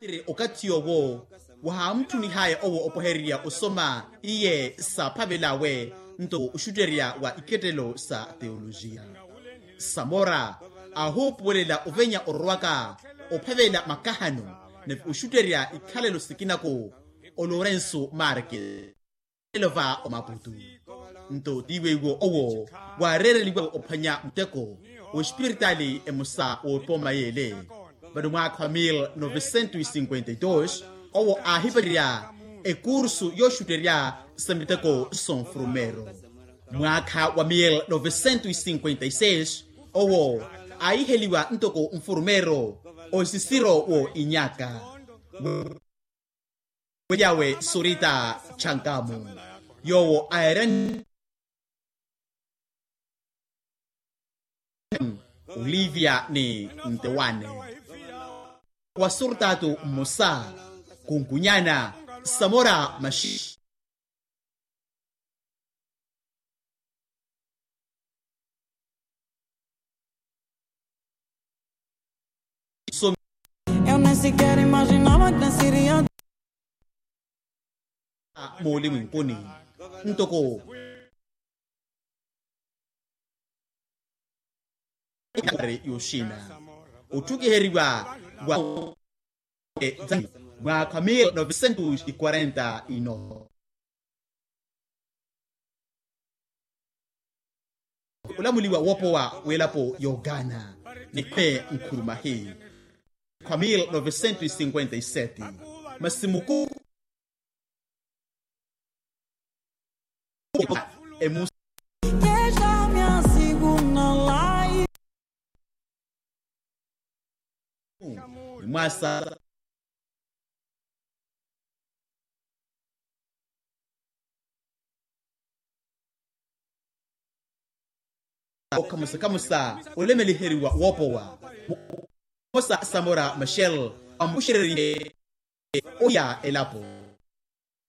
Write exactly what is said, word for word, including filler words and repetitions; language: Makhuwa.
Tiri okathi owo wahaamutthunihaya owo opwehererya osoma iye saaphavel'awe nto oxutterya wa ikettelo sa teolojiya. Samora aahuupuwelela ovenya ororwaka ophavela makahano nave oxutterya ikhalelo sikinako o lorenso marke elo va omaputu. Nto tiiweiwo owo waareereliwa ophwanya muteko w'espiritali emosa w'opooma y'ele. Vano mwaakha wa mil novecentos e cinquenta e dos owo aahipacerya ekursu yooxutterya sa miteko sonfurumero. Mwaakha wa mil novecentos e cinquenta e seis owo aahiheliwa ntoko nfurumero osisiro wo inyaka. Weliyawe surita chankamu yoowo aerani olivia ni ntewane wa surtatu mmosa kunkunyana samora mashi Eu nem sequer imaginava que nasceria. Mooli mwinkuni ntoko yoxina otthukiheriwa wa mwaakha mil novecentos e quarenta e nove. Olamuliwa woopowa w'elapo y'ogana ni khwe nkhurumahi khwa mil novecentos e cinquenta e sete masi muku emusa. Mwasa okhamusa-khamusa olemeliheriwa woopowa. Mmosa samora machel amuxererihe ohiya elapo.